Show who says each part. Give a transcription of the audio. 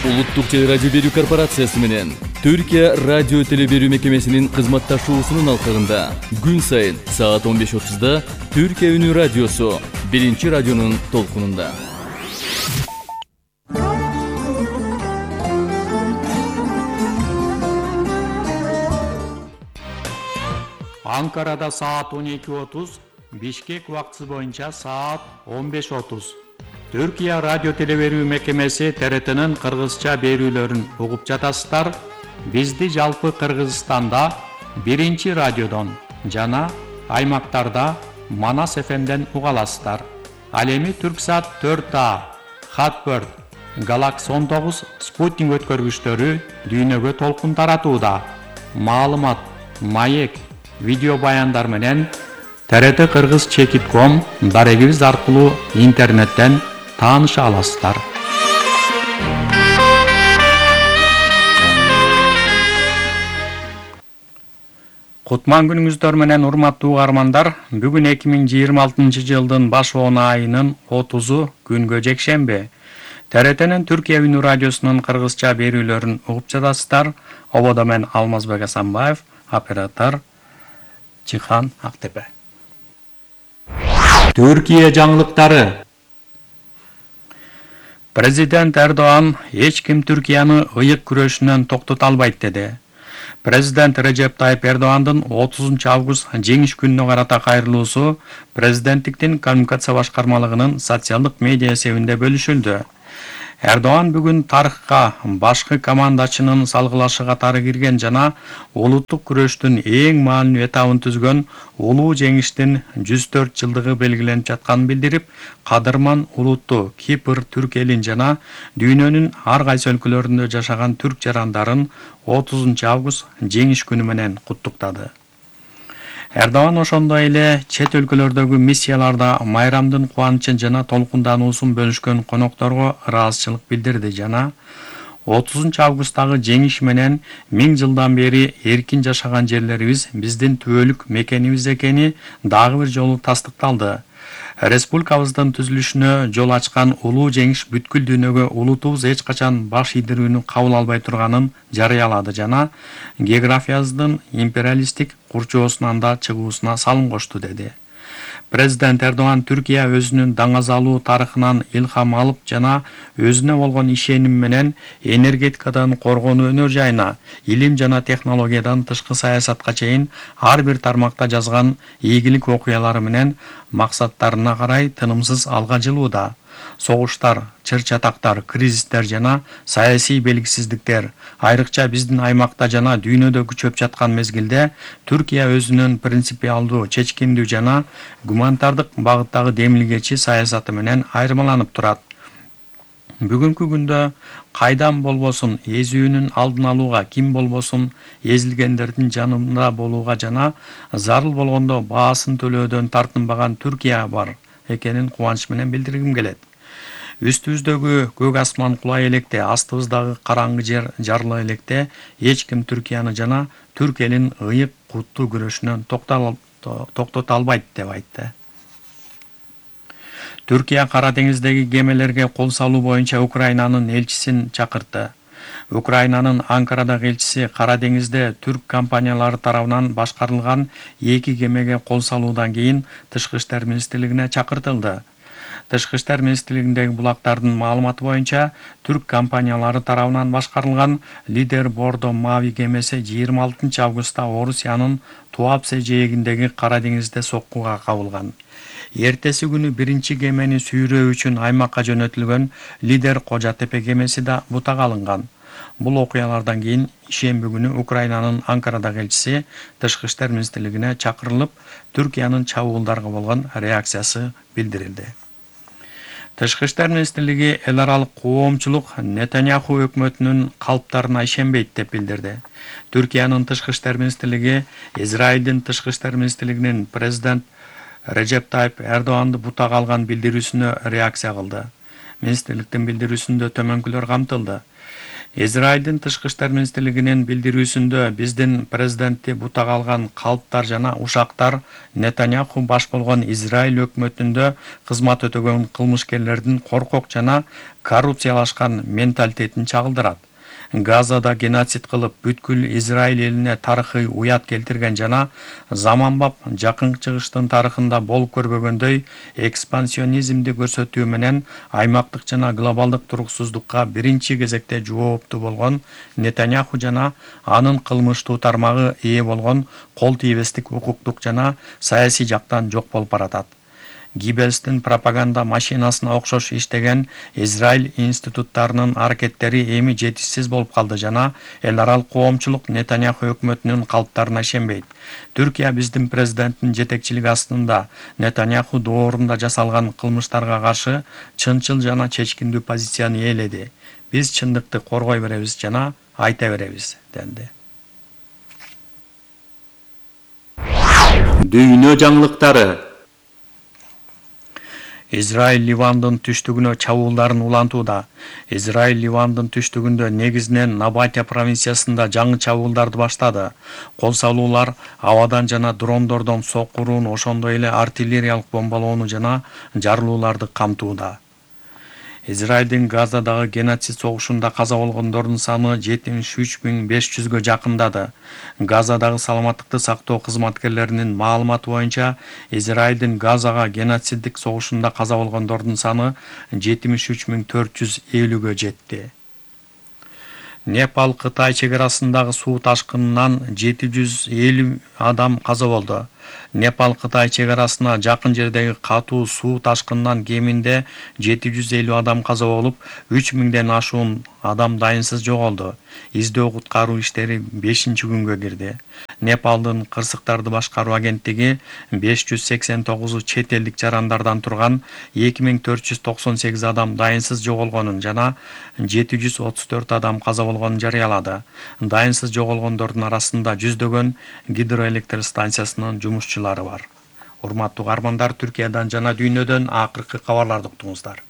Speaker 1: Улуттук телерадио берүү корпорациясы менен Түркия радио теле берүү мекемесинин кызматташуусунун алкагында күн сайын саат 15:30 Түркия үнү радиосу биринчи радионун толкунунда.
Speaker 2: Анкарада саат 12:30, Бишкек убактысы боюнча саат 15:30. Түркия радио теле берүү мекемеси ТРТнын кыргызча берүүлөрүн угуп жатасыздар. Бизди жалпы Кыргызстанда биринчи радиодон жана аймактарда Манас ФМден уга аласыздар. Ал эми Түрксат 4А, Хатбird, Galaxy 19 спутник өткөргүчтөрү дүйнөгө толкун таратууда. Маалымат, маек, видео баяндар менен TRT Кыргыз Чекит.com дарегибиз аркылуу интернеттен тааныша аласыздар. Кутман күнүңүздөр менен урматтуу угармандар, бүгүн 2026 жылдын баш 10 айынын 30 күнгө жекшемби. TRTнын Түркия үнү радиосунун кыргызча берүүлөрүн угуп жатасыздар. Ободо мен Алмазбек Асанбаев, оператор Чихан Актепе. Түркия жаңылыктары. Президент Эрдоğan эч ким Түркияны ыйык күрөшүнөн токтото албайт деди. Президент Режеп Тайып Эрдоğan'дын 30 август жеңиш күнүнө карата кайрылуусу президенттиктин коммуникация башкармалыгынын социалдык медиа эсебинде бөлүшүлдү. Эрдоğan бүгүн тарыхка башкы командачынын салгылашы катары кирген жана улуттук күрөштүн эң маанилүү этабын түзгөн улуу жеңиштин 104 жылдыгы белгиленип жатканын билдирип, кадырман улутту Кипр, түрк элин жана дүйнөнүн ар кайсы өлкөлөрүндө жашаган түрк жарандарын 30 август жеңиш күнү менен куттуктады. Эрдоğan ошондой эле чет өлкөлөрдөгү миссияларда майрамдын кубанычын жана толкундануусун бөлүшкөн конокторго ыраазычылык билдирди жана 30 августтагы жеңиш менен 1000 жылдан бери эркин жашаган жерлерибиз биздин түбөлүк мекенибиз экени дагы бир жолу тастыкталды. Республикабыздын түзүлүшүнө жол ачкан улуу жеңиш бүткүл дүйнөгө улутубуз эч качан баш ийдирүүнү кабыл албай турганын жарыялады жана географиябыздын империалисттик курчоосунан да чыгуусуна салым кошту деди. Президент Эрдоğan Түркия өзүнүн даңазалуу тарыхынан илхам алып жана өзүнө болгон ишеним менен энергетикадан коргонуу өнөр жайына, илим жана технологиядан тышкы саясатка чейин ар бир тармакта жазган ийгилик окуялары менен максаттарына карай тынымсыз алга жылууда. Согуштар, чыр-чатактар, кризистер жана саясий белгисиздиктер айрыкча биздин аймакта жана дүйнөдө күчөп жаткан мезгилде Түркия өзүнүн принципиалдуу, чечкиндүү жана гуманитардык багыттагы демилгечи саясаты менен айырмаланып турат. Бүгүнкү күндө кайдан болбосун эзүүнүн алдын алууга, ким болбосун эзилгендердин жанында болууга жана зарыл болгондо баасын төлөөдөн тартынбаган Түркия бар экенин кубаныч менен билдиргим келет. Үстүбүздөгү көк асман кулай электе, астыбыздагы караңгы жер жарыла электе эч ким Түркияны жана түрк элин ыйык куттуу күрөшүнөн токтото албайт деп айтты. Түркия Кара деңиздеги кемелерге кол салуу боюнча Украинанын элчисин чакыртты. Украинанын Анкарадагы элчиси Кара деңизде түрк компаниялары тарабынан башкарылган 2 кемеге кол салуудан кийин Тышкы иштер министрлигине чакыртылды. Тышкы иштер министрлигиндеги булактардын маалыматы боюнча түрк компаниялары тарабынан башкарылган Лидер Бордо Мави кемеси 26 августта Орусиянын Туапсе жээгиндеги Кара деңизде соккуга кабылган. Эртеси күнү биринчи кемени сүйрөө үчүн аймакка жөнөтүлгөн Лидер Кожатепе кемеси да бутага алынган. Бул окуялардан кийин ишемби күнү Украинанын Анкарадагы элчиси Тышкы иштер министрлигине чакырылып, Түркиянын чабуулдарга болгон реакциясы билдирилди. Тышкы иштер министрлиги эл аралык коомчулук Нетаньяху өкмөтүнүн калптарына ишенбейт деп билдирди. Түркиянын Тышкы иштер министрлиги Израилдин Тышкы иштер министрлигинин президент Режеп Тайып Эрдоğan'ды бутага алган билдирүүсүнө реакция кылды. Министрликтин билдирүүсүндө төмөнкүлөр камтылды. Израилдин тышкы иштер министрлигинин билдирүүсүндө биздин президентти бутага алган калптар жана ушактар Нетаньяху баш болгон Израиль өкмөтүндө кызмат өтөгөн кылмышкерлердин коркок жана коррупциялашкан менталитетин чагылдырат. Газада геноцид кылып бүткүл Израиль элине тарыхый уят келтирген жана заманбап Жакын Чыгыштын тарыхында болуп көрбөгөндөй экспансионизмди көрсөтүү менен аймактык жана глобалдык туруксуздукка биринчи кезекте жооптуу болгон Нетаньяху жана анын кылмыштуу тармагы ээ болгон кол тийбестик укуктук жана саясий жактан жок болуп баратат. Гиббелстин пропаганда машинасына окшош иштеген Израиль институттарынын аракеттери эми жетишсиз болуп калды жана эл аралык коомчулук Нетаньяху өкмөтүнүн калптарына ишенбейт. Түркия биздин президенттин жетекчилиги астында Нетаньяху доорунда жасалган кылмыштарга каршы чынчыл жана чечкиндүү позицияны ээледи. Биз чындыкты коргой беребиз жана айта беребиз, денди. Дүйнө жаңылыктары. Израиль Ливандын түштүгүнө чабуулдарын улантууда. Израиль Ливандын түштүгүндө негизинен Набатия провинциясында жаңы чабуулдарды баштады. Кол салуулар абадан жана дрондордон соккурууну, ошондой эле артиллериялык бомбалоону жана жарылууларды камтууда. Израилдин Газадагы геноцид согушунда каза болгондордун саны 73.500гө жакындады. Газадагы саламаттыкты сактоо кызматкерлеринин маалыматы боюнча, Израилдин Газага геноциддик согушунда каза болгондордун саны 73.450гө жетти. Непал-Кытай чек арасындагы суу ташкынынан 750 адам каза болду. Непал-Кытай чек арасына жакын жердеги катуу суу ташкынынан кеминде 750 адам каза болуп, 3000ден ашуун адам дайынсыз жоголду. Издөө куткаруу иштери 5-күнгө кирди. Непалдын кырсыктарды башкаруу агенттиги 589 чет элдик жарандардан турган 2498 адам дайынсыз жоголгонун жана 734 адам каза болгонун жарыялады. Дайынсыз жоголгондордун арасында жүздөгөн гидроэлектр станциясынын жумушчулары бар. Урматтуу каармандар, Түркиядан жана дүйнөдөн акыркы кабарларды уктуңуздар.